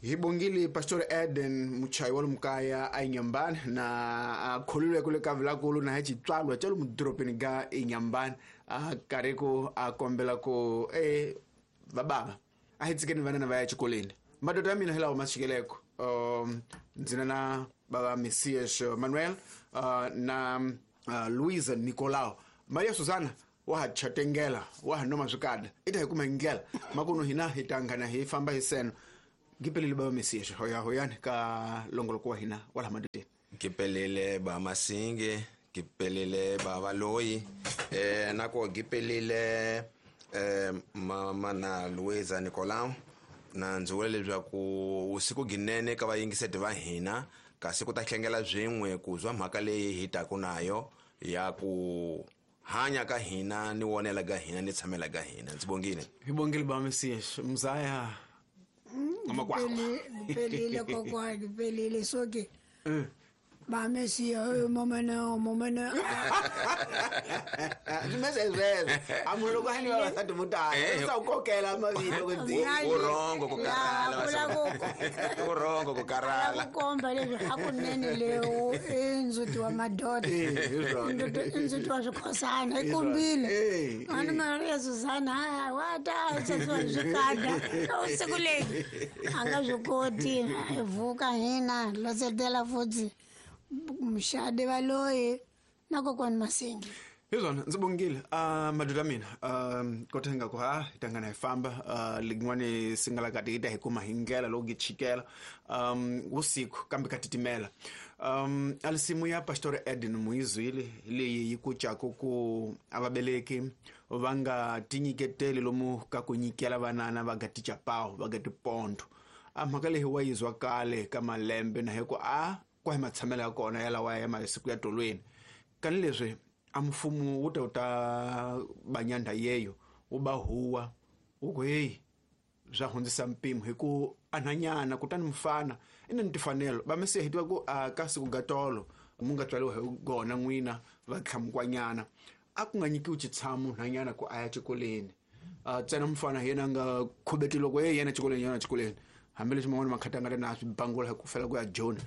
Hi bongile Pastor Eden muchayi wa lumukaya a Inyambani na a kholilwe kule ka vilakulu na hi xitswalwa xa lomu dorobeni ga Inyambani a karhi ku a kombela ku e vabava a hi tshikeni vanana va ya exikolweni. Madoda ya mina hi lawa ma xikeleko ndzi na na bava Messias Manuel na Luisa Nicolau. Maria Susana wa ha chatengela wa ha noma swikada i ta hi kuma hi ndlela makuno hina hi ta nghana hi famba hi seno. Ngipelele baba Messias hoya hoyani ka longoloko wa hina wa laha madodeni. Ngipelele ba Masinge, ngipelele baba Loyi, nako ngipelele mama na Luisa Nicolau. Na ndzi vula leswaku vusiku ginene ka vayingiseti va hina kasi ku ta hlengela swin'we ku zwa mhaka leyi hi taku nayo ya ku hanya ka hina ni wonela ka hina ni tshamela ka hina. Ndzi bongile. Hi bongile ba Messias mzaya ngamakwakwa. Ngipelile kokwa, ngipelile soke. Ba Messias momene momene. Messias amulo kwa hani wa sati mutala. Sa ukokela mavito kwenzini. Urongo kukarala. Urongo kukarala. Kukomba leswi hakunene leo inzuti wa madoda. Inzuti wa swikhosana ikumbile. Ani Maria Susana wa ta seswa swikada. Usiku leyi a nga swi koti vuka hina losetela futhi mshade valoyi na kokwani Masingi. Hi swona ndzi bongile madoda mina kota nga ku ha hi tangana hi famba lin'wani singala kati hi ta hi kuma hi ndlela loko gi chikela vusiku kambe ka titimela. Alisimu ya Pastor Eden Muizwile leyi yi kucaku ku a vaveleki va nga tinyiketeli lomu ka ku nyikela vanana va ga tichapawu va ga tipondo. A mhaka leyi wa yizwa kale ka malembe na hi ku a kwa hi matshamelo ya kona ya lawa ya masiku ya tolweni. Kani leswi a mfumo wu ta wu ta banyandha yeyo wu ba huwa wu ku heyi swa hundzisa mpimo hi ku anhanyana kutani mfana i na ni timfanelo. Va Mesiya hi tiva ku a ka siku ga tolo mu nga tswariwa hi gona n'wina va tlhamukwanyana a ku nga nyikiwi xitshamo nhanyana ku a ya xikolweni. Ntsena mfana hi yena a nga khubeti loko yena xikolweni yena xikolweni hambileswi man'wana makhata nga ri na swi bangula hi ku fela ku ya Joni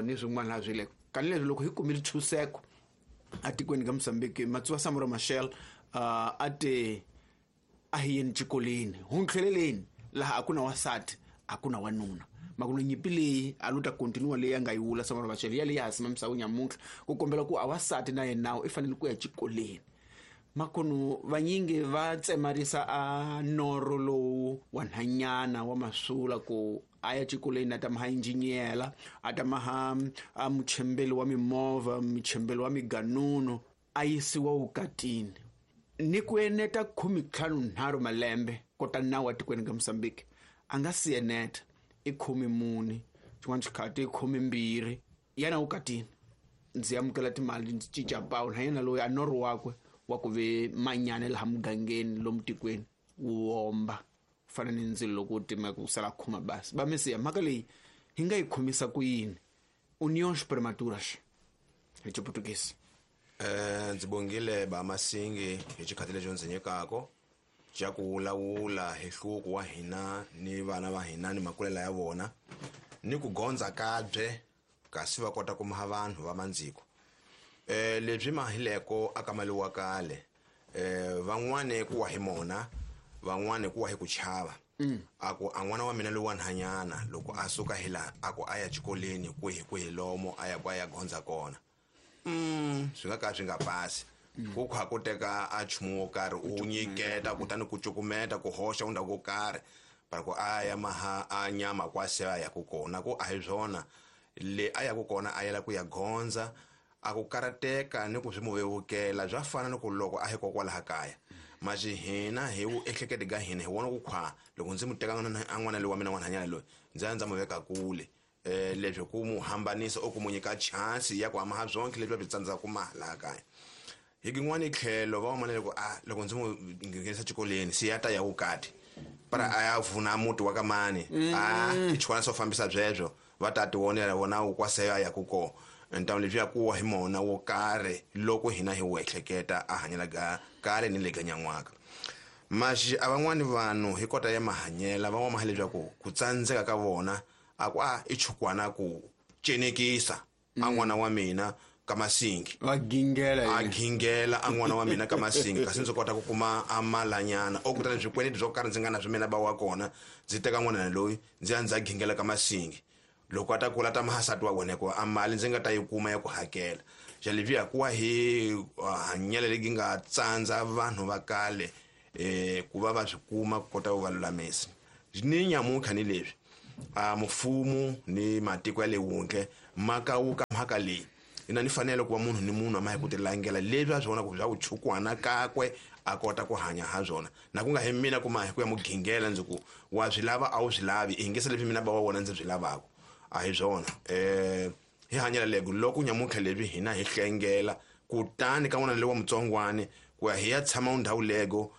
ni swin'wana laha swi le. Kani leswi loko hi kumile ntshunxeko atikweni ka Mozambique Matsua Samora Machel a te a hi yeni xikolweni huntlheleleni laha a ku na wansati a ku na wanuna. Makuno nyimpi leyi a lo ta continue leyi a nga yi vula Samora Machel ya leyi ya ha simamisaka nyamuntlha ku kombela ku a wansati na yena nawu i fanele ku ya xikolweni. Makuno vanyingi va tsemarisa a norho lowu wa nhanyana wa masula ku a ya xikolweni a ta maha injiniyela a ta maha a muchembeli wa mimovha muchembeli wa miganunu a yisiwa vukatini. Ni ku eneta 53 malembe kota nawu atikweni ka Mozambique a nga si eneta i 14 xin'wana xikhathi i 12 yena vukatini. Ndzi amukela timali ndzi cinca pawu na yena loyi a norho wakwe wa ku ve manyana laha mugangeni lomu tikweni wu omba fana ni ndzilo loko wu timeka ku sala khoma basi. Va Mesiya mhaka leyi hi nga yi khomisa ku yini? Uniões prematuras hi Xiputukezi. Ndzi bongile ba Masingi hi xikhathi lexi ndzi nyikaka xa ku vulavula hi hluvuko wa hina ni vana va hina ni makulela ya vona ni ku gondza kabye kasi va kota ku maha vanhu va mandziko. Leswi mahileko aka mali wa kale van'wani ku wa hi mona van'wani ku wa hi ku chava. A ku a n'wana wa mina loyi wa nhanyana loko a suka hi laha a ku a ya xikolweni kwihi kwihi lomo a ya ku a ya gondza kona. Swi nga ka swi nga pasi. Ku kha ku teka a nchumu wo karhi u nyiketa kutani ku cukumeta ku hoxa undhawu wo karhi para ku a ya maha a nyama kwa se a ya ku kona ku a hi swona le a ya ku kona a yela ku ya gondza a ku karateka ni ku swi mu vevukela bya fana ni ku loko a hi kokwalaha kaya. Masi hina hi wu ehleketi ka hina hi vona ku khwa loko ndzi mu teka a n'wana loyi wa mina n'wanhanyana loyi ndzi ya ndza mu veka kule. Leswi ku mu hambanisa o ku mu nyika chance ya ku hamaha swonke leswi va swi tsandzaka ku maha laha kaya. Hi kin'wani tlhelo va vona loko a loko ndzi mu nghenisa xikolweni se ya ta ya vukati para a ya vuna muti wa ka mani a i chwana swo fambisa byebyo va ta ti vonela vona wu kwa se ya ya ku ko ntamu leswi ya kuwa hi mona wo karhi loko hina hi wu ehleketa a hanyela ga kale ni le ka nyan'waka. Maxi a van'wani vanhu hi kota ya mahanyela van'wana maha leswaku ku tsandzeka ka vona a ku a i chukwana ku cenekisa a n'wana wa mina ka Masingi va gingela a gingela a n'wana wa mina ka Masingi kasi ndzi kota ku kuma a malanyana o kutani swikweleti swo karhi ndzi nga na swi mina ba wa kona ndzi teka n'wana loyi ndzi ya ndzi ya gingela ka Masingi loko a ta kula ta mahasati wa wena hikuva a mali ndzi nga ta yi kuma ya ku hakela xa leswiya ku wa hi hanyela legi nga tsandza vanhu va kale ku va va swi kuma ku kota ku va lulamisa ni nyamuntlha ni leswi a mfumo ni matiko ya le wundle ma kawuka mhaka leyi ina ni fanele ku va munhu ni munhu a ma hi ku tilangela leswi a swi vona ku bya vuchukwana kakwe a kota ku hanya ha swona na ku nga hi mina kuma hi ku ya mugingela ndzi ku wa swi lava a wu swi lavi i hingisa leswi mina ba wa wona ndzi swi lavaka a hi swona hi hanyela lego loko nyamuntlha leswi hina hi hlengela kutani ka n'wana loyi wa mutsongwani ku ya hi ya tshama ndhawu lego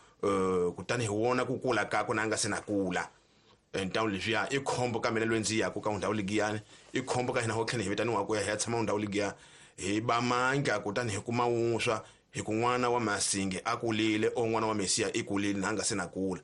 kutani hi wona ku kula kakwe na a nga se na kula ntawu leswiya i khombo ka mina loyi ndzi yaku ka ndhawu ligiyani i khombo ka hina ho tlhela hi vitaniwa ku ya hi ya tshama ndhawu ligiya hi ba mandla kutani hi kuma wuswa hi ku n'wana wa Masingi a kulile o n'wana wa Mesiya i kulile na a nga se na kula.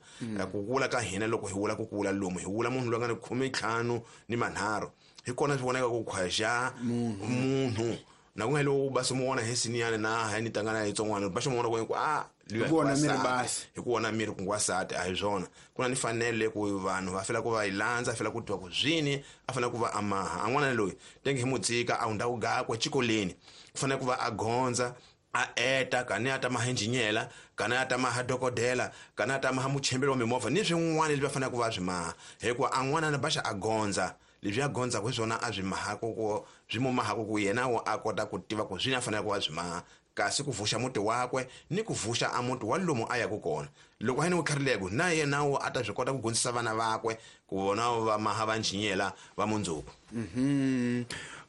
Ku kula ka hina loko hi vula ku kula lomu hi vula munhu loyi a nga ni 15 ni 3 hi kona swi vonaka ku khwaxa munhu na ku nga lowu ba se mu vona hi siniyani na ha ni tangana hi tsongwana ba xi mu vona ku a hi ku vona miri basi hi ku vona miri ku ngwasati a hi swona ku na ni fanele ku vanhu va fela ku va yi landza fela ku tiva ku zwini a fanele ku va amaha a n'wana loyi tenge hi mutsika a hundza ku gakwe xikolweni ku fanele ku va a gondza a eta kani a ta maha injinyela kani a ta maha dokodela kani a ta maha muchembeli wa mimovha ni swin'wana leswi va fanele ku va swi maha hikuva a n'wana na baxa a gondza leswi a gondzaka hi swona a swi mahaka ku swi mu mahaka ku yena wo a kota ku tiva ku swini a fanele ku va swi maha kasi ku vuxa muti wakwe ni ku vuxa a muti wa lomu a yaku kona loko a yini wu tlharileko na yena wo a ta swi kota ku gondzisa vana vakwe ku vona va maha va njinyela va mundzuku.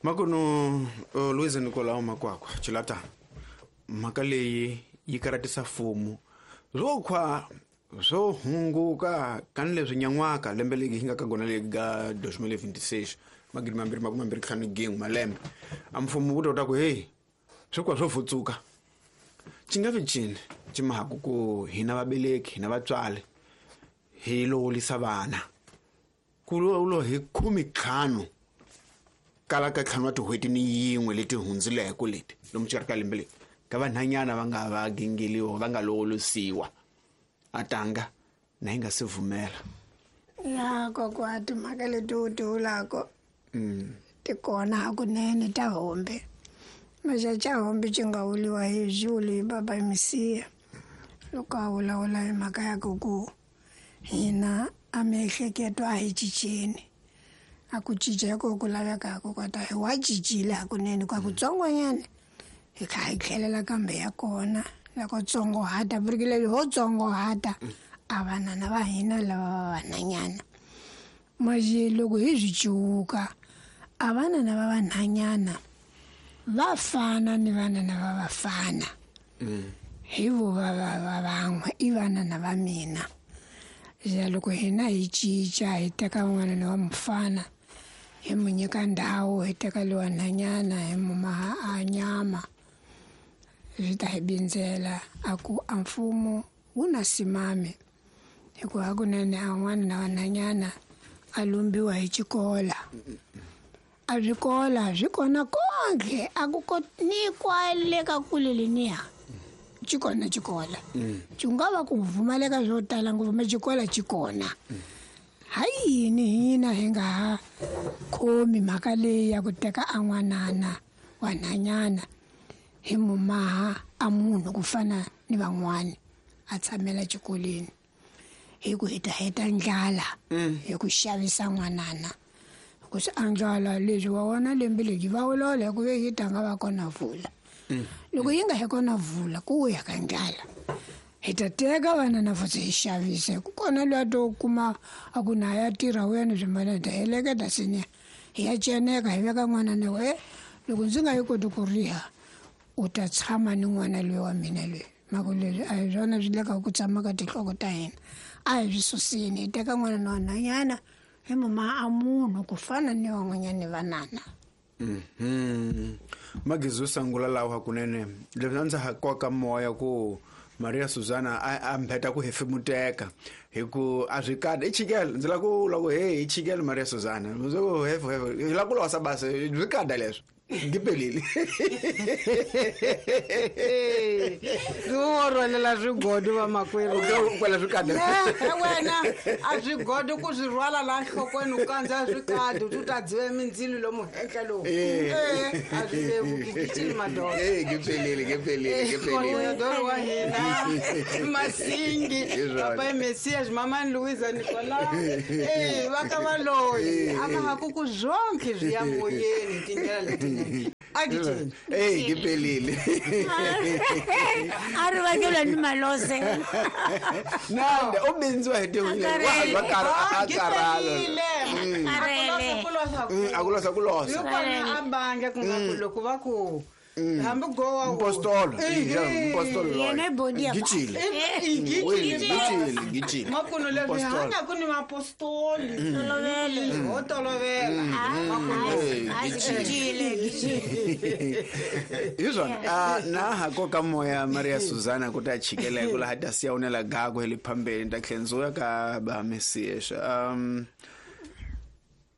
Makuno Louise Nicolau Makwakwa Chilata mhaka leyi yi karatisa mfumo swo khwa swo hunguka kani leswi nyan'waka lembe leri hi nga ka gona leri ga 2026 2025 malembe a mfumo wu ta ku hey swo kwa swo futsuka xi nga vi cini xi mahaku ku hina vabeleki hina vatswari hi lowolisa vana ku lo hi 15 kala ka 5 wa tin'hweti ni yin'we leti hundzileko leti lomu xikarhi ka lembe leri ka vanhanyana va nga va gingeliwa va nga lowolisiwa a tanga na yi nga se vumela ya kokwa timhaka leti u ti vulako ti kona hakunene ta hombe maxa hombe xi nga vuliwa hi Juli baba Mesiya loko a vulavula hi mhaka ya ku ku hina a miehleketo a hi cinceni a ku cinca ko ku lavekaka kota hi wa cincile hakunene kwa kutsongonyana hi kha hi tlhelela kambe ya kona loko tsongohata vurikile ho tsongohata a vanana va hina lava va vanhanyana maje loko hi swi ciwuka a vanana va vanhanyana va fana ni vanana va vafana hi vo va va van'we i vanana va mina ja loko hina hi cinca hi teka n'wana wa mufana hi mu nyika ndhawu hi teka lowa nhanyana hi mu maha a nyama swi ta hi bindzela a ku a mfumo wu na simami hikuva hakunene a n'wana na vanhanyana a lumbiwa hi xikola a swikola swi kona konke a ku ni kwale ka kule leniya xi kona xikola xi nga va ku pfumaleka swo tala ngopfu ma xikola xi kona ha yini hina hi nga ha khomi mhaka leyi ya ku teka a n'wanana wa nhanyana hi mumaha a munhu ku fana ni van'wani a tshamela xikolweni hi ku hi ta heta ndlala hi ku xavisa n'wanana ku swi andlala leswi wa wona lembe leri va vulavula hi ku ve yi tanga va kona vula loko yi nga hi kona vula ku ya ka ndlala hi ta teka vanana futhi hi xavisa ku kona loyi a to kuma a ku na ya tirha wu ya ni swimbalana hi ta heleketa siniya hi ya ceneka hi veka n'wana na we loko ndzi nga yi koti ku riha u ta tshama ni n'wana loyi wa mina loyi mhaka leswi a hi swona swi leka ku tshama ka tinhloko ta hina a hi swi susini hi teka n'wana na wanhanyana hi muma a munhu ku fana ni van'wanyani vanana. Magezi yo sungula lawa hakunene leswi a ndza ha koka moya ku Maria Susana a mbheta ku hefemuteka hi ku a swi kada i chikele ndzi lava ku vula ku hey i chikele Maria Susana ndzi ku hefu hefu hi lava ku losa basa swi kada leswo ngipelile wo rhwalela swigodo vamakwerhu kwela swikada wena a swigodo ku swi rhwala laha nhlokweni u kandza swikadi u ta dziva mindzilo lomu henhla lowu a swi vevuki gicini madoda ngipelile ngipelile ngipelile doro wa hina Masingi papa Messias mamani Louisa Nicolas va ka va loyi a va ha ku ku zonke swi ya moyeni hi tindlela letinene a gicini eyi ngipelile a ri vangela ni malose nande u bindziwa hi tihuwa karhala a ku losa ku losa hikona a bandla ku nga ku loko va ku hambi gowa mpostolo mpostolo Yena i bodi ya gicile gicile gicile makuno leswi hanya ku ni mapostoli ho tolovela hi swona na ha koka moya Maria Susana ku ta chikela hi ku laha ta siya unela gago hi le phambeni ta tlhela ndzi ya ka ba Messias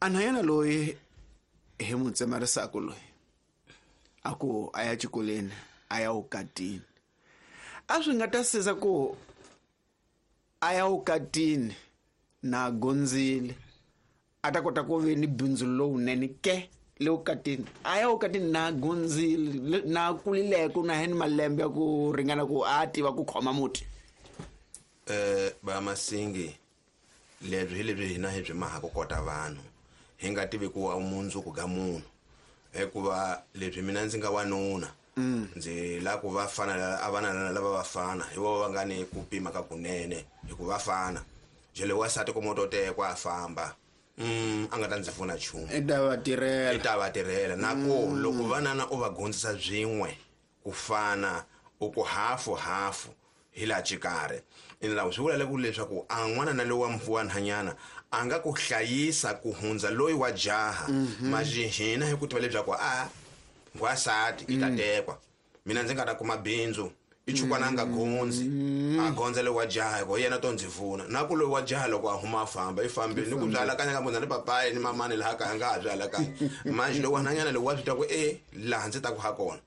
anhanyana loyi hi n'wi tsemarisaka loyi a ku a ya xikolweni a ya vukatini a swi nga ta siza ku a ya vukatini na gondzile a ta kota ku ve ni bindzu lowunene ke le vukatini a ya vukatini na gondzile na kulileko na ni malembe ya ku ringana ku a tiva ku khoma muti Ba Masingi lebyi hi lebyi hina hi byi mahaka kota vanhu hi nga tivi ku mundzuku ga munhu hikuva lebyi mina ndzi nga wanuna ndzi lava ku va fana a vana lava va fana hi vona va nga ni ku pima ka kunene hikuva va fana jele wansati ku moto tekwa a famba a nga ta ndzi pfuna nchumu i ta va tirhela i ta va tirhela na ku loko vanana u va gondzisa byin'we ku fana u ku hafu hafu hi laha xikarhi ina swi vula ku leswaku a n'wana na loyi wa wa nhanyana a nga ku hlayisa ku hundza loyi wa jaha manje hina hi ku tiva leswaku a ngwasati i ta tekwa mina ndzi nga ta kuma bindzu i chukwana a nga gondzi a gondza loyi wa jaha hikuva yena to ndzi pfuna na ku loyi wa jaha loko a huma a famba i fambile ni ku byi alakanya ka munhu ni papayi ni mamani laha kaya nga ha byi alakanyi manje loyi wa nhanyana loyi wa swi twa ku e laha ndzi taku ha kona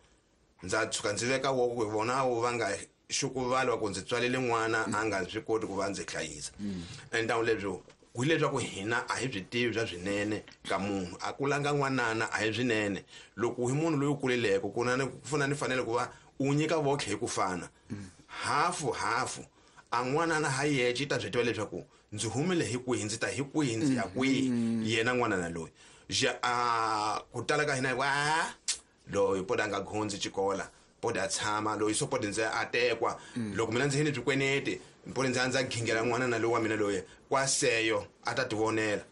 ndza tshuka ndzi veka wo ku vona vo va nga xukuvala ku ndzi tswalele n'wana a nga swi koti ku va ndzi hlayisa endhawu lebyo hileswaku hina a hi byi tivi bya swinene ka munhu a kulanga n'wanana a hi swinene loko hi munhu loyi u kuleleke ku na ku fana ni fanele ku va u nyika votlhe hi ku fana hafu hafu a n'wanana ha yexe i ta byi tiva leswaku ndzi humile hi kwihi ndzi ta hi kwihi ndzi ya kwihi yena n'wanana loyi a ku tala ka hina hi ku a loyi poda a nga gondzi xikola poda a tshama loyi so podi ndzi a tekwa loko mina ndzi yini bikweneti podi ndzi a ndza gingela n'wana na loyi wa mina loyi kwaseyo a ta tivonela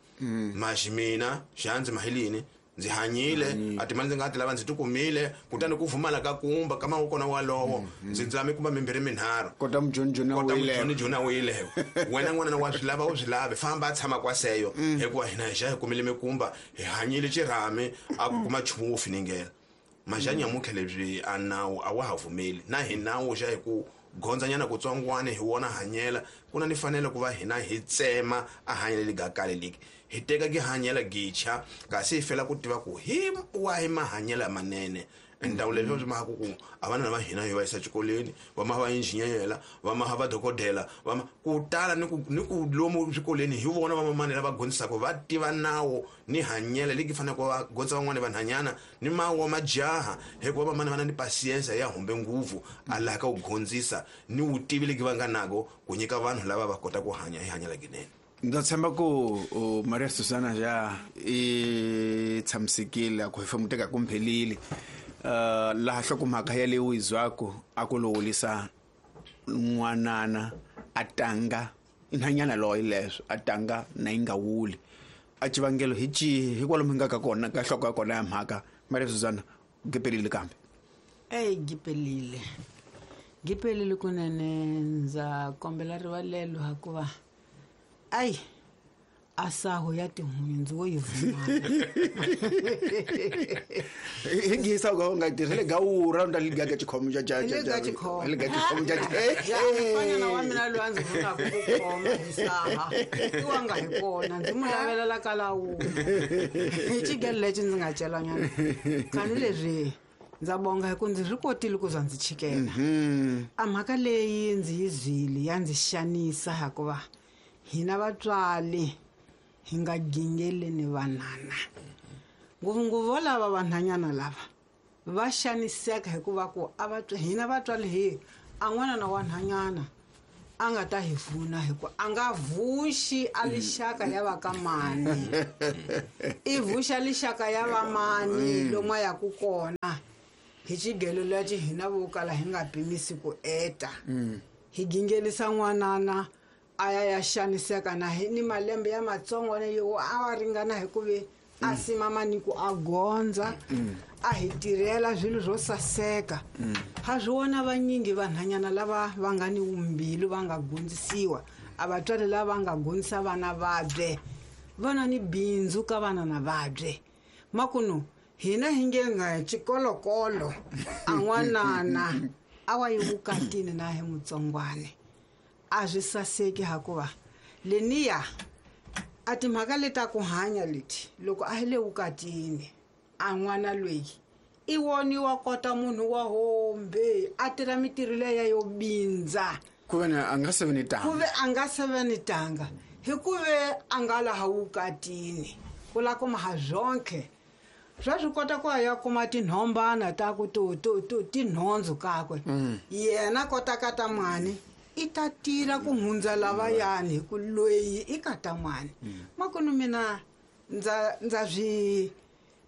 maxi mina xandzi mahilini ndzi hanyile a timali ndzi nga ti lava ndzi ti kumile kutani ku vumala ka kumba ka mavoko kona walowo ndzi ndzi mi kumba mimbirhi minharhu kota mujonijoni kota mujonijoni a wileyo wena n'wana wa swi lava u swi lavi famba a tshama kwaseyo hikuva hina hi xa hi kumile mikumba hi hanyile xirhami a ku kuma nchumu wo finingela maxa nyamutlha lebyi a nawu a wa ha vumeli na hi nawu xa hi ku gondzanyana kutsongwana hi wona hanyela ku na ni fanele ku va hina hi tsema a hanyela legi kale leki hi teka ki hanyela gicha kasi hi fela ku tiva ku hi wahi mahanyelo manene ndhawu leswi swi maka ku a vana va hina hi va yisa xikolweni va ma va injiniyela va ma va dokodela va ma ku tala ni ku ni ku lomu swikolweni hi vona va mamani lava gondzisaka va tiva nawu ni hanyela leki faneleke va gondza van'wani vanhanyana ni mawu wa majaha hikuva vamani va na ni pasiensa ya humbe nguvu a laha ka ku gondzisa ni vutivi leki va nga nako ku nyika vanhu lava va kota ku hanya hi hanyela ginene. Ndza tshemba ku Maria Susana ja i tshamisekile a ku hefemuteka ku mphelile laha hlokomhaka ya leyi u yi zwaku a ku lowulisa n'wanana a tanga nhanyana loyi leswo a tanga na yi nga wuli a xivangelo hi cihi hikwalomu hi nga ka kona ka nhloko ya kona ya mhaka Maria Susana gipelile kambe eyi gipelile gipelile kunene ndza kombela rivalelo hikuva ayi A saho ya tihunyi ndzi wo yi vuma. Hi ngisa ku nga tirhele gawura nda liga ka xikhomo xa xa Hi le ka xikhomo. Hi le ka xikhomo xa Mfanyana wa mina loyi a ndzi vunaka ku khoma hi saha i wa nga hi kona ndzi n'wi lavelela ka lawula hi xigelo lexi ndzi nga celanyana kani leswi ndza bonga hi ku ndzi swi kotile ku za ndzi chikela. A mhaka leyi ndzi yi zwile ya ndzi xanisa hikuva hina vatswari hi nga gingeleni vanana ngopfungopfu vo lava vanhanyana lava va xaniseka hikuva ku a hina vatswari hi a n'wana na wanhanyana a nga ta hi vuna hikuva a nga vuxi a lixaka ya va ka mani i vuxa lixaka ya va mani lomu a yaku kona hi xigelo lexi hina vo kala hi nga pimisi ku eta hi gingelisa n'wanana a ya ya xaniseka na hi ni malembe ya matsongo yo a wa ringana hi ku ve a simama ni ku a gondza a hi tirhela swilo swo saseka. Ha swi vona vanyingi vanhanyana lava va nga ni vumbilu va nga gondzisiwa a vatswari lava va nga gondzisa vana vabye va na ni bindzu ka vana na vabye makunu hina hi nge nga xikolokolo a n'wanana a wa yi vukatini na hi mutsongwane a swi saseki hakuva leniya a timhaka leta ku hanya leti loko a hi le vukatini a n'wana loyi i woniwa kota munhu wa hombe a tirha mitirho leya yo bindza ku ve a nga se ve ni tanga ku ve a nga se ve ni tanga hi ku ve a nga laha vukatini ku la kuma ha zonke swa swi kota ku ya kuma tinhombana ta ku to to to tinhondzu kakwe yena kota ka ta mwani i ta tirha ku hundza lavayani hi ku loyi i ka ta mwani makunu mina ndza swi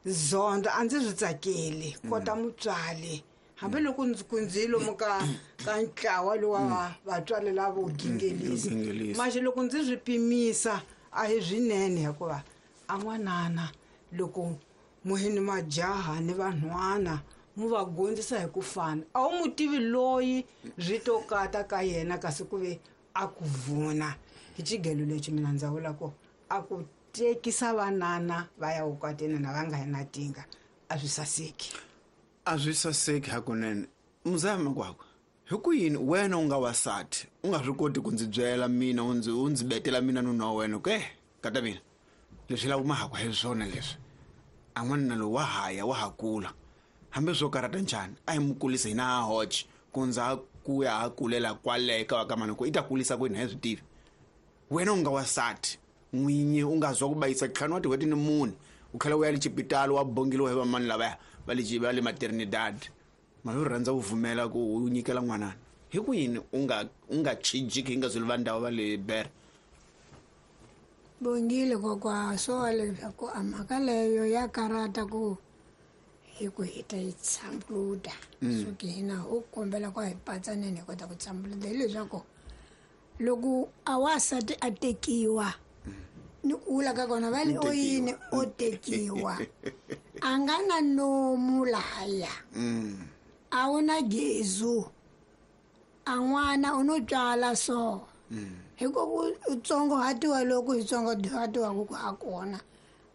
zonda a ndzi swi tsakeli kota mutswali hambiloko ndzi ku ndzi lomu ka ka ntlawa lowa vatswari lavo gingelisa maxi loko ndzi swi pimisa a hi swinene hikuva a n'wanana loko muhini majaha ni vanhwana mu va gondzisa hi ku fana a wu mu tivi loyi swi to kata ka yena kasi ku ve a ku vuna hi xigelo lexi mina ndza vula ku a ku tekisa vanana va ya vukatini na va nga na tinga a swi saseki. A swi saseki hakunene. Muzaya Makwakwa, hi ku yini wena u nga wasati u nga swi koti ku ndzi byela mina u ndzi betela mina nuna wa wena ke kata mina leswi lava mahakwa hi swona leswi a n'wanuna lowu wa haya wa ha kula hambi swo karhata njhani a hi mu kulisa hina ha hoxe ku ndza ku ya ha kulela kwale ka va ka mani ku i ta kulisa kwini a hi swi tivi. Wena u nga wasati n'winyi u nga zwa ku bayisa ntlhanu wa tin'hweti ni mune u tlhela u ya le xipitali wa bongeliwa hi vamani lavaya va le va le maternidad mali u rhandza ku pfumela ku u nyikela n'wanana hi ku yini u nga chijiki hi nga zwi va ndhawu va le bere. Bongile kokwa swo leswaku a mhaka leyo ya karata ku hi ku hi ta yi tshambuluta so ke hina u kombela ku hi patsaneni hi kota ku tshambuluta hileswaku loko a wasati a tekiwa ni ku vula ka kona va le o yini o tekiwa a nga na nomu lahaya a wu na gezu a n'wana u no tswala so hi ku u tsongohatiwa loko hi tsongohatiwaka ku ha kona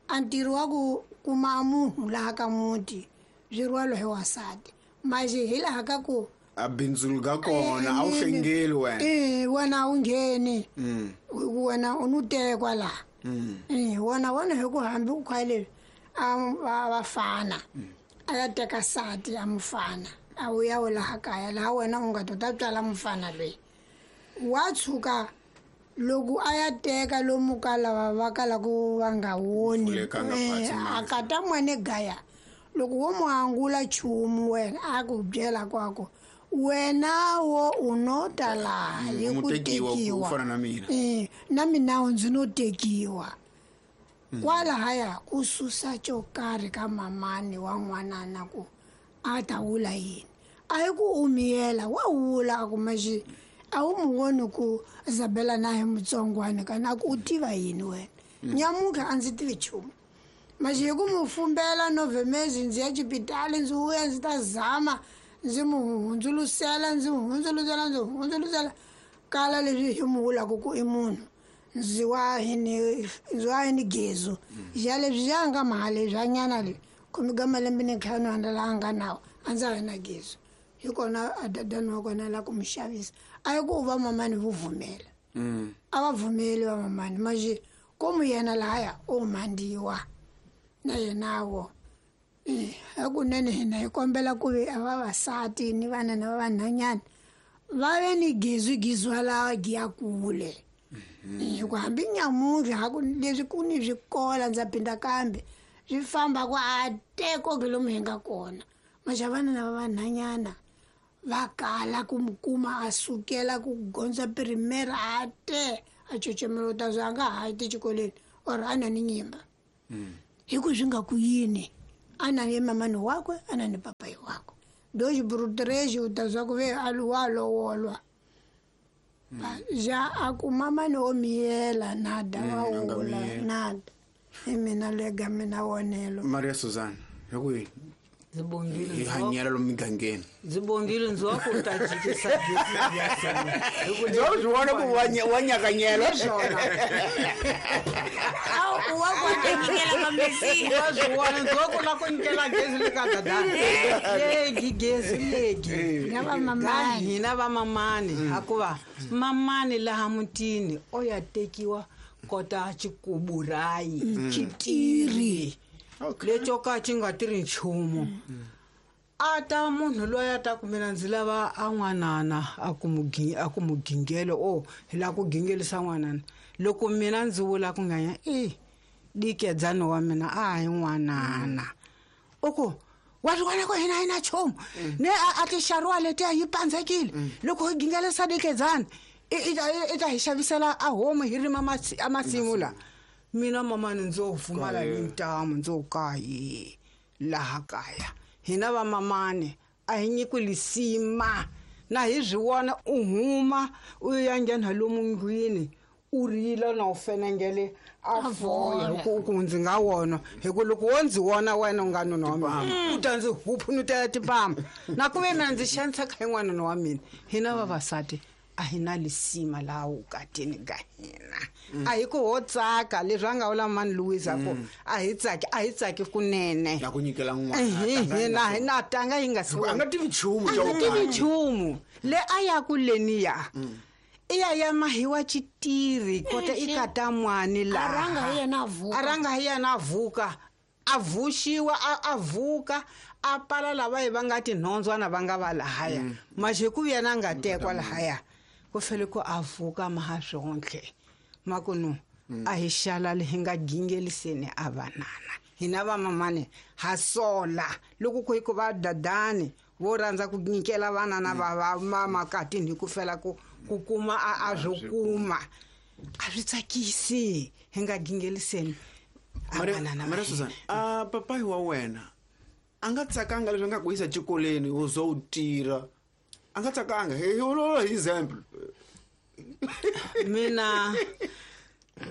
a ntirho wa ku kuma munhu laha ka muti swi rhwalo hi wasati maxi hi laha ka ku a bindzulu ka kona a wu hlengeli wena wena a wu ngheni wena u no tekwa laha wona wona hi ku hambi u khwa leswi a vafana a ya teka sati a mufana a wu ya wu laha kaya laha wena u nga to ta tswala mufana loyi wa tshuka loko a ya teka lomu ka lava va kalaku va nga woni a kata n'wana gaya loko wo mu angula nchumu wena a ku byela kwako wena wo u no ta laha hi ku tekiwa na mina ndzi no tekiwa kwalahaya ku susa xo karhi ka mamani wa n'wanana ku a ta wula yini a hi ku u miyela wa wula a ku maxi a wu mu voni ku Isabella na hi mutsongwana kana a ku u tiva yini wena nyamuka a ndzi tivi nchumu maxi hi ku mu fumbela novhemezi ndzi ya xipitali ndzi vuya ndzi ta zama ndzi mu hundzulusela ndzi mu hundzuluxela ndzi hundzuluxela kala leswi hi mu vulaka ku i munhu Ndzi wa hini gezu ja leswi ja nga mali bya nyana le khume ka malembe ni ntlhanu a laha nga nawo a ndza ha na gezu hi kona a dadani wa kona la ku mu xavisa a yi ku va mamani vo vumela a va vumeli va mamani maje komu yena lahaya o mhandiwa na yenawo hakunene hina hi kombela ku ve a vavasati ni vana na vanhanyana va ve ni gezu gizwa la giya kule hikuva hambi nyamuntlha haku leswi ku ni swikola ndza phinda kambe swi famba ku a teko ke lomu hi nga kona maxavana na vanhanyana va kala ku mu kuma a sukela ku gondza pirimere a te a cocemela u ta zwa a nga ha yi tixikolweni or a na ni nyimba hi ku swi nga ku yini a na ni mamani wakwe a na ni papayi wakwe dox brutrexi u ta zwa ku ve a wa lowolwa ja a ku mamani wo miyela nada wa wula nada hi mina lega mina vonelo Maria Susan hi ku yini hi hanyela lomu migangeni ndzi bongile ndzi wa ku ta jikisa ndzi wa swi vona ku wa nyakanyela wa ku nyikela mamesiya wa swi vona ndzi wa ku la ku nyikela gezi le ka dadani legi gezi legi na hina va mamani hakuva mamani laha mutini o ya tekiwa kota xikuburayi xitiri leco ka xi nga tirhi nchumu a ta munhu loyi a ta ku mina ndzi lava a n'wanana a ku mu gingelo o hi lava ku gingelisa n'wanana loko mina ndzi vula ku nganya e dikedzani wa mina a hi n'wanana u ku wa swi vona ku hina hi na nchumu ne a tixariwa letiya yi pandzekile loko hi gingelisa dikedzani i ta hi xavisela a homu hi rima a masimu la mina mamani ndzo pfumala ni ntamu ndzo kayi laha kaya hina va mamani a hi nyikiwi lisima na hi swi vona u huma u ya nghena lomu ndlwini u rila na u fenengele a foya hi ku ndzi nga wona hi ku loko wo ndzi wona wena u nga nuna wa mina u ta ndzi huphunutela tipama na ku ve mina ndzi xaniseka hi n'wanuna wa mina hina vavasati a hi na lisima laha vukatini ka hina a hi ku ho tsaka leswi a nga vula mani Louise ku a hi tsaki a hi tsaki kunene na ku nyikela n'wana hina na tanga yi nga si a nga tivi nchumu a nga tivi nchumu le a ya ku leniya i ya ya mahiwa xitiri kota i kata mwani laha a rhanga hi yena a vuka a vuxiwa a vuka a pala lava hi va nga tinhondzwana va nga va lahaya maxe ku yena a nga tekwa lahaya ku fele ku a vuka maha swontlhe makunu a hi xalali hi nga gingeliseni a vanana hina vamamani ha sola loko ku hi ku va dadani vo rhandza ku nyikela vanana va vamakatini hi ku fela ku kuma a swo kuma a swi tsakisi hi nga gingeliseni Maria Susan a papayi wa wena a nga tsakanga leswi a nga ku yisa xikolweni u zo u tirha a nga tsakanga hi hi example mina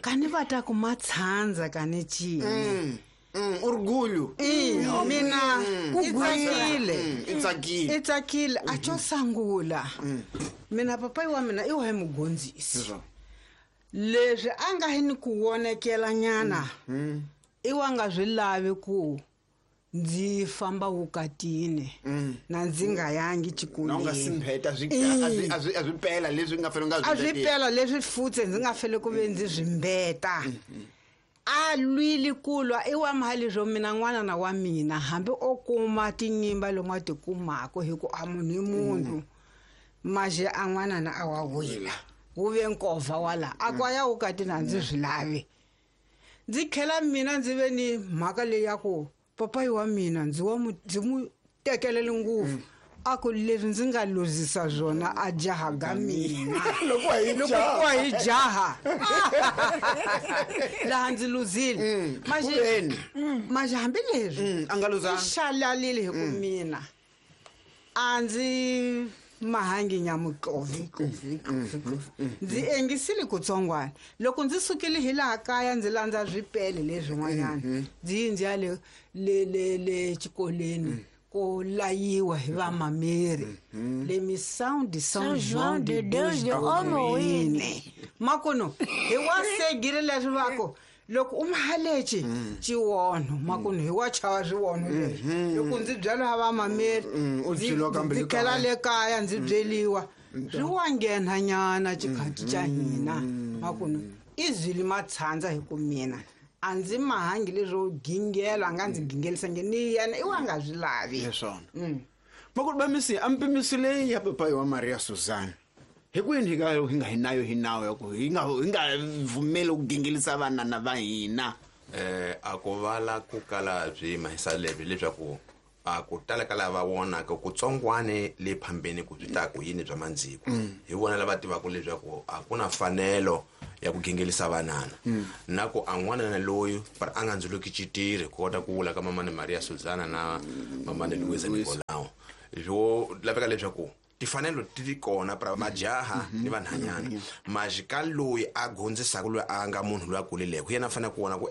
ka ni va ta ku matshandza ka ni cini orgulho mina i tsakile i tsakile a xo sungula mina papayi wa mina i wa hi mugondzisi leswi a nga hi ni ku vonekela nyana i wa nga swi lavi ku ndzi famba vukatini na ndzi nga yangi xikolweni nga simpheta a swi pela leswi nga fele nga a swi pela leswi futse ndzi nga fele ku ve ndzi swi mbeta a lwile ku lwa i wa mali swo mina n'wanana wa mina hambi o kuma tinyimba lomu a ti kumaka hi ku a munhu i munhu maxe a n'wanana a wa wila wu ve nkovha wala a ku a ya vukatini a ndzi swi lavi ndzi tlhela mina ndzi ve ni mhaka leyi ya ku papayi wa mina ndzi mu tekelele ngopfu a ku leswi ndzi nga luzisa swona a jaha ga mina loko ku hi jaha laha ndzi luzile maxe hambileswi a nga luzanga i xalalile hi ku mina a ndzi mahangi nyamutlovi ndzi engisile kutsongwana loko ndzi sukile hi laha kaya ndzi landza swipele leswin'wanyana ndzi yi ndzi ya le le le le xikolweni ko layiwa hi vamameri le Missão de São João de Deus de Homoíne. Makuno hi wa segile leswi vako loko u mahaleci xiwonho makuno hi wa chava swiwonho leswi loko ndzi byela va mameri ndzi tlhela le kaya ndzi byeliwa swi wa nghena nyana xikhathi xa hina makuno i zwili matshandza hi ku mina a ndzi mahangi leswo gingela a nga ndzi gingelisangi ni yena i wa nga swi lavi hi swona makulu va misi a mpimiso leyi ya papayi wa Maria Susan hi kwini hi nga hi nga hi nayo hi nawu ya ku hi nga hi nga vumeli ku gingelisa vanana va hina a ku vala ku kala byi mahisa lebyi leswaku a ku tala ka lava vonaka ku tsongwane le phambeni ku byi ta ku yini bya mandziko hi vona lava tivaka leswaku a ku na fanelo ya ku gingelisa vanana na ku a n'wanana loyi a nga ndzuluki xitirhi ku kota ku vula ka mamani Maria Susana na mamani Luisa Nicolau swo laveka leswaku tifanelo ti kona pra majaha ni vanhanyana majika loyi a gondzisaka loyi a nga munhu loyi a kulileko yena a fanele ku vona ku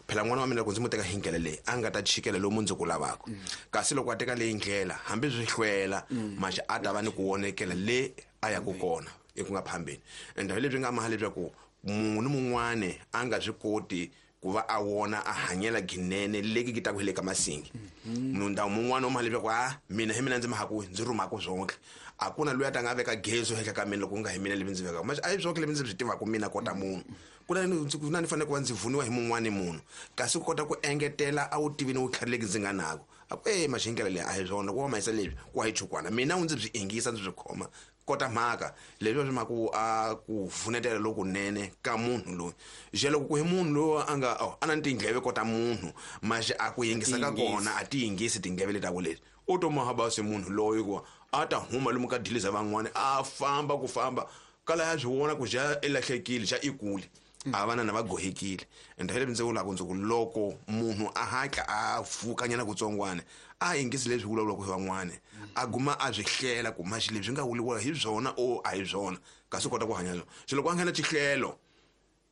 phela n'wana wa mina loko ndzi mu teka hi ndlela leyi a nga ta chikela lomu ndzi ku lavaka kasi loko a teka leyi ndlela hambi swi hlwela maji a ta va ni ku vonekela le a yaku kona eku nga phambeni ende hi leswi nga maha leswaku munhu ni mun'wani a nga swi koti ku va a wona a hanyela ginene leki ki ta ku hi le ka masingi munhu mun'wana u maha leswaku a mina hi mina ndzi mahaku ndzi rhumaku swonke a ku na loyi a ta nga veka gezo henhla ka mina loko ku nga hi mina levi ndzi vekaka manje a hi swonke levi ndzi swi tivaka mina kota munhu ku na ni fanele ku va ndzi vuniwa hi mun'wani munhu kasi ku kota ku engetela a wu tivi ni vutlhari leki ndzi nga nako a ku maxi ndlela leyi a hi swona ku va mahisa leswi ku wa hi chukwana mina u ndzi byi ingisa ndzi byi khoma kota mhaka leswi swi mhaka a ku vunetela lokunene ka munhu loyi je loko ku hi munhu loyi a nga a na tindleve kota munhu maxe a ku yingisa ka kona a ti yingisi tindleve leti ta leti u to maha basi munhu loyi ku a ta huma lomu ka diliza van'wani a famba ku famba kala ya swi vona ku xa i lahlekile xa i kule a vanana va gohekile ende hi leswi ndzi vulaka ndzi ku loko munhu a hatla a pfukanyana kutsongwana a yingisi leswi vulavulaka hi van'wana a guma a swi hlela ku maxi leswi nga vuliwa hi byona o a hi byona kasi u kota ku hanya swona se loko a nghena xihlelo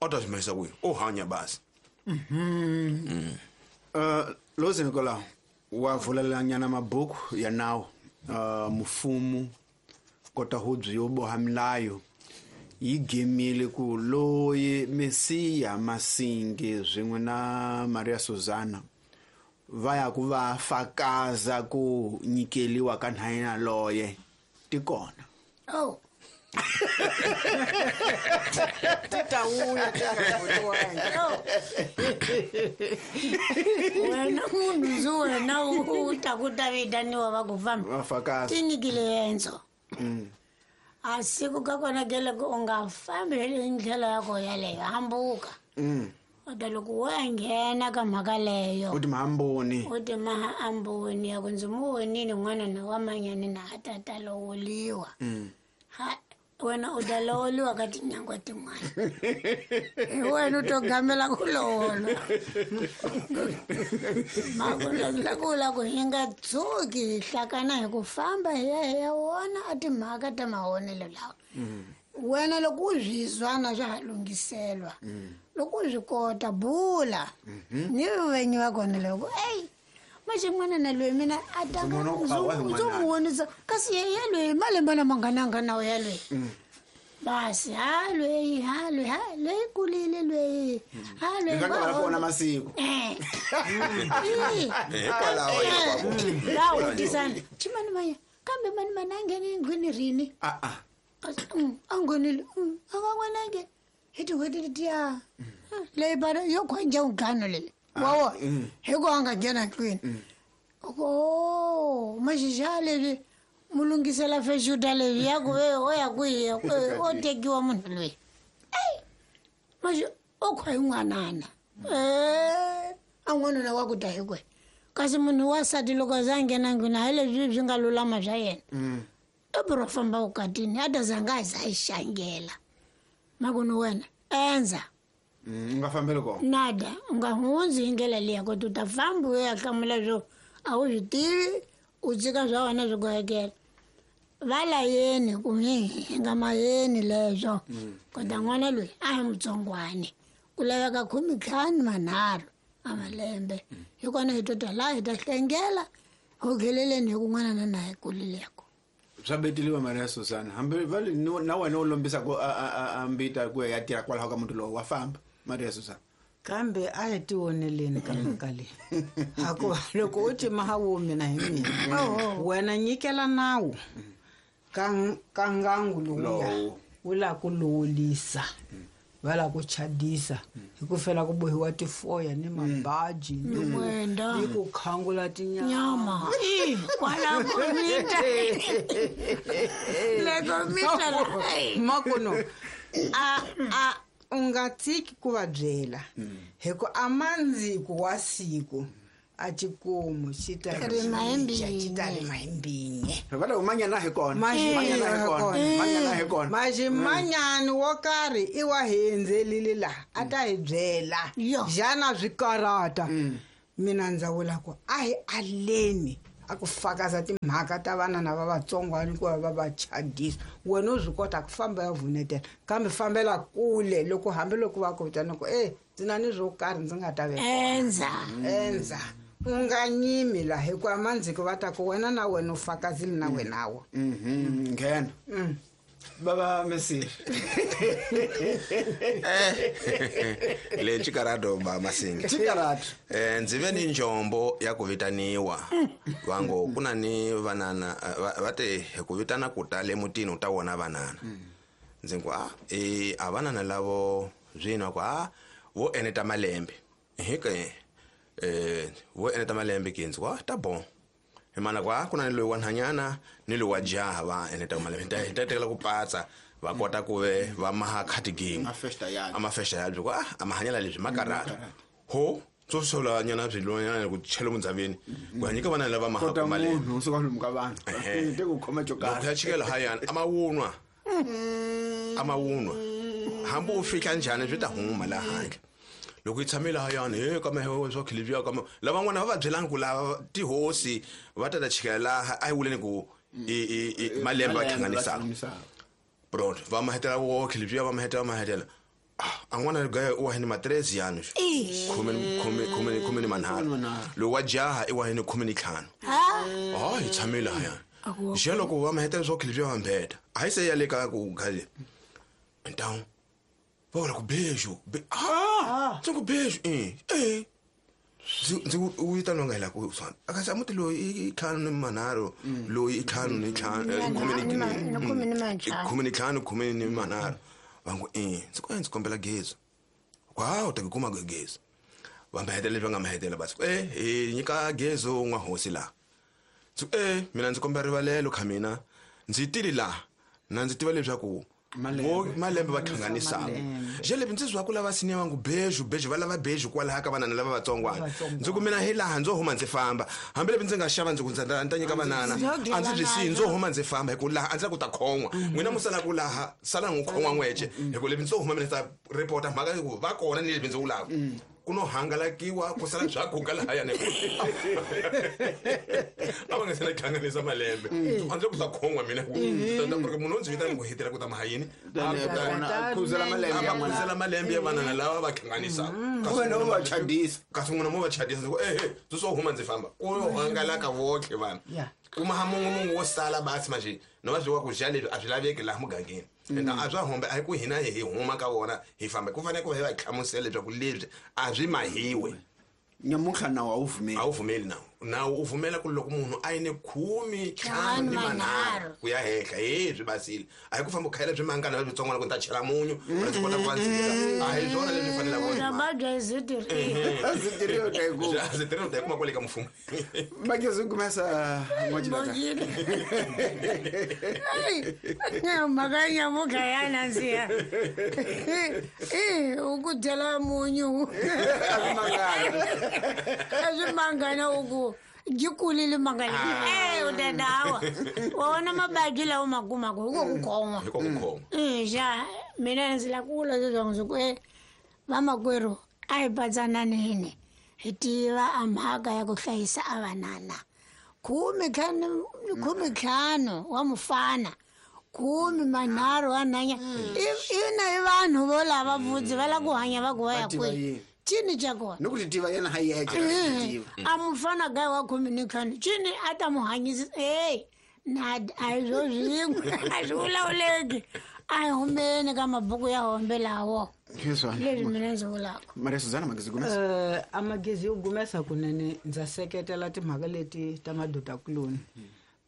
a ta swi mahisa kwihi o hanya basi Lozi Nicolau wa vulelanyana mabuku ya nawu mufumu kota hubyi yo boha milayo yi gemile ku loyi Mesiya Masingi swin'we na Maria Susana va ya ku va fakaza ku nyikeliwa ka nhanyana loye ti kona oh ti ta wuya ti nga vuriwangi wena munhu ndzi wena u ta ku ta vitaniwa va ku famba va fakaza ti nyikile yendzo a siku ka kona ke loko u nga fambi hi ndlela ya ko yaleyo hambuka kodwa loko wo ya nghena ka mhaka leyo u ti mahamboni u ti mahamboni ya ku ndzi mu vonile n'wana na wa manyani na a tata lowoliwa ha wena u ta lowoliwa ka tinyangwa tin'wana hi wena u to gamela ku lowola makulakula ku hi nga tshuki hi hlakana hi ku famba hi ya hi ya wona a timhaka ta mahonelo lawa wena loko u swi zwana swa ha lunghiselwa loko u swi kota bula ni venyi wa kona loko eyi maxe n'wana na loyi mina a tanga ndzo mu vonisa kasi ye loyi malembe lama nga na nga nawo ya loyi basi ha loyi ha loyi ha loyi kulile loyi ha loyi nga va vona masiku hikwalaho la wutisana chimani manya kambe mani mani a nghene endlwini rini a a nghenile a nga n'wana nge hi tin'hweti letiya leyi bana yo khonja ntlhanu leyi wawo hi ku a nga nghena ndlwini o maxixa leswi mu lunghisela fexuta leswi ya ku ve o ya kwihi o tekiwa munhu loyi eyi maxi o khwa hi n'wanana a n'wanuna wa ku ta hi kwe kasi munhu wa sati loko a za a nghena ndlwini hayi leswi swi nga lulama swa yena i biro famba vukatini a ta zanga a za yi xangela makunu wena endza u nga fambeli kona nada u nga hundzi hi ndlela liya koti u ta famba u ya hlamula swo a wu swi tivi u tshika swa wena swi gohekela va layeni ku hi nga mayeni leswo kota n'wana loyi a hi mutsongwani ku laveka 15 manharhu a malembe hi kona hi to ta laha hi ta hlengela ho kheleleni hi kun'wana na na hi kulileko. Swa beteliwa Maria Susana hambi va le na wena u lombisaka a mbita ku ya tirha kwalaho ka muti lowu wa famba Maria Susana. Kambe a hi tioneleni ka mhaka leyi, hakuva loko u tima ha wo mina hi mina wena nyikela nawu ka ngangu lowuya wu lava ku lowolisa, va lava ku chadisa hi ku fela ku bohiwa tifoya ni mabaji ni ku khangula tinyama kwala ku mita loko mita makuno a u nga tshiki ku va byela hi ku a mandziku wa siku a xikomu xi ta rima hi mbinye. Va le manyana hi kona, manyana hi kona, manyana hi kona. Maximanyani wo karhi i wa hi endzelile laha a ta hi byela xana swi karata. Mina ndza vula ku a hi aleni a ku fakaza timhaka ta vanana va vatsongwana ku va va chadisa. Wena u swi kota ku famba ya vunetela, kambe fambela kule loko hambiloko va ku vitana ku ndzi na ni swo karhi ndzi nga ta veka endza u nga nyimi laha hikuva mandziko va ta ku wena na wena u fakazile na wenawo. Nghena baba Messi le Chikarado ba Masinga Chikarado ndzi ve ni njombo ya ku vitaniwa vango ku na ni vanana va te ku vitana ku ta le mutini u ta vona vanana. Ndzi ku a vanana lavo zwino ku vo eneta malembe hike vo eneta malembe ke ndzi ku ta bon hi mana ku ku na ni loyi wa nhanyana ni loyi wa jaha va eneta malembe ta tekela ku patsa va kota ku ve va maha khatigini amafesta ya ku a mahanyela leswi makarata ho tso sola nyana byi ku chela mundzaveni ku hanyika vana lava maha ku malembe munhu suka lomu ka vanhu te ku khoma jokara ya chikela hayana amawunwa hambi u fika njhani byi ta huma laha handle loko yi tshamile hayani he ka mehe swa khilivya ka lavan'wana va va byelanga ku lava tihosi va ta ta chikela laha a yi vuleni ku i malembe va hlanganisaka bro va mahetela wo khilivya va mahetela a n'wana gaya u wa hini matrezi yanu khume ni manharhu lowu wa jaha i wa hini 15. Hi tshamile hayani xa loko va mahetela swa khilivya va mbeta a yi se ya le ka ku gale ntawu va vula ku beju ndzi ku beju ndzi u vitaniwa nga hela ku swana akasi a muti loyi i 5 ni manharhu loyi i 5 ni 5 15 khume ni manharhu va ngo ndzi ku ndzi kombela gezo wa u ta ku kuma gezo va mahetela leswi va nga mahetela basi hi nyika gezo n'wa hosi laha ndzi ku mina ndzi kombela rivalelo kha mina ndzi tili laha na ndzi tiva leswaku malembe va hlanganisaka xelebyi ndzi zwa ku lava siniya vangu beju beju va lava beju kwalaha ka vanana lava vatsongwana ndzi ku mina hi laha ndzo huma ndzi famba hambilebyi ndzi nga xava ndzi ku ndzi ta nyika vanana a ndzi byi siyi ndzo huma ndzi famba hi ku laha a ndzi la ku ta khon'wa n'wina mu sala ku laha sala n'wi khon'wa n'wece hi ku lebyi ndzo huma mina ta ripota mhaka ku va kona ni lebyi ndzi vulaka ku no hangalakiwa ku sala bya guga lahayani a va nga se na hlanganisa malembe a ndzi ku ta khon'wa mina ku munhu o ndzi vitana ku hetela ku ta mahayini a malembe ya vanana lava va hlanganisaka kasi n'wina mo va chadisa ku ehe ndzi swo huma ndzi famba ku yo hangalaka votlhe vanhu kuma ha mun'we wo sala basi manje no va swi wa ku dya leswi a swi laveki laha mugangeni ende a swa humbe a hi ku hina hi huma ka wona hi famba ku fanele ku va hi va hlamusela leswaku leswi a swi mahiwe nyamuntlha nawu a wu pfumeli a wu pfumeli nawu nawu u pfumela ku loko munhu a yi ni 15 ni manharhu ku ya henhla he swi basile a hi ku famba u khayela byi mangana leswitsongwana ku ni ta chela munyu a ndzi kota ku va ndzika a hi swona leswi fanelaka u ta yi kuma kwale ka mfumo Makezi kumesa n'wachilaka mhaka nyamuka ya nandziha u ku dyela munyu a swi mangana u ku byi kulile mangana u ta dawa wa vona mabadi lawa ma kumaka hi ko ku khon'wa xa mina ndzi la ku vula leswaku ndzi ku vamakwerhu a hi patsananeni hi tiva a mhaka ya ku hlayisa a vanana 15 wa mufana 13 wa nhanya ina i vanhu vo lava vudzi va lava ku hanya va ku va ya kwihi cini xa kona ni ku ti tiva yena ha yexe a mufana gaya wa 15 cini a ta mu hanyisa hey. Na a hi swo swin'we, a swi vulavuleki. A hi humeni ka mabuku ya hombe lawo. Leswi mina ndzi vulaka. Maria Suzana Magezi Gumesa. A Magezi yo gumesa kunene, ndza seketela timhaka leti ta madodakuloni.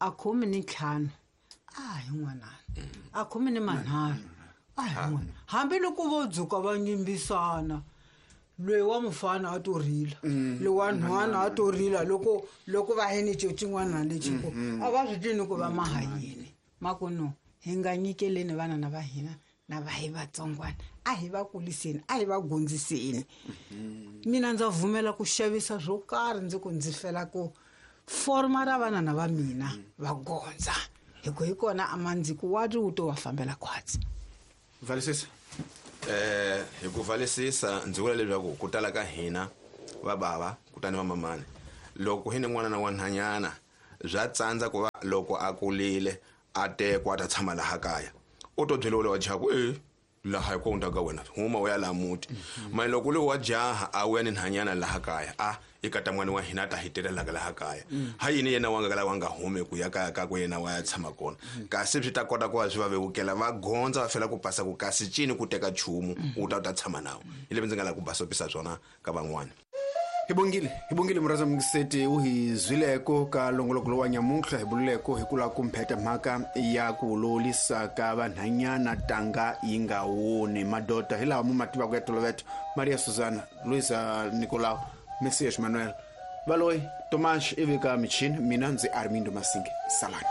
A 15 a hi n'wanana, a 13 a hi n'wana. Hambiloko vo dzuka va nyimbisana, loyi wa mufana a to rila, loyi wa nhwana a to rila, loko va yini xin'wana lexi ku a va swi tivi ku va maha yini. Ma ku no, hi nga nyikeleni vana na va hina na va hi vatsongwana, a hi va kuliseni, a hi va gondziseni. Mina ndza vumela ku xavisa swo karhi, ndzi ku ndzi fela ku forma ra vana na va mina va gondza, hi ku hi kona a mandziko wa ri wu to va fambela khwatsi. Valisisa. Hi ku valisisa ndzi vula leswaku ku tala ka hina va bava kutani va mamani, loko hi ni n'wana na wa nhwanyana bya tsandza ku va loko a kulile a tekwa a ta tshama laha kaya, u to byela wa jaha ku laha hi ku hundza ka wena huma u ya laha muti. Mara loko loyi wa jaha a wuya ni nhwanyana laha kaya, a i kata n'wana wa hina a ta hi tirhelaka laha kaya, ha yini yena wa nga kala wa nga humi ku ya kaya ka ku yena wa ya tshama kona, kasi swi ta kota ku va swi va vevukela va gondza va fela ku pasa ku kasi cini ku teka nchumu u ta u ta tshama nawo. Hi leswi ndzi nga lava ku basopisa swona ka van'wana. Hi bongile murhandza mungiseti u hi zwileko ka longoloko lowa nyamuntlha, hi bululeko hi ku lava ku mpheta mhaka ya ku lolisa ka vanhanyana tanga yi nga woni. Madoda hi lawa mu ma tivaka ya toloveto: Maria Suzana, Luisa Nicolau, Messias Manuel, Valoyi Tomas ivi ka michini. Mina ndzi Armindo Masinge. Salani.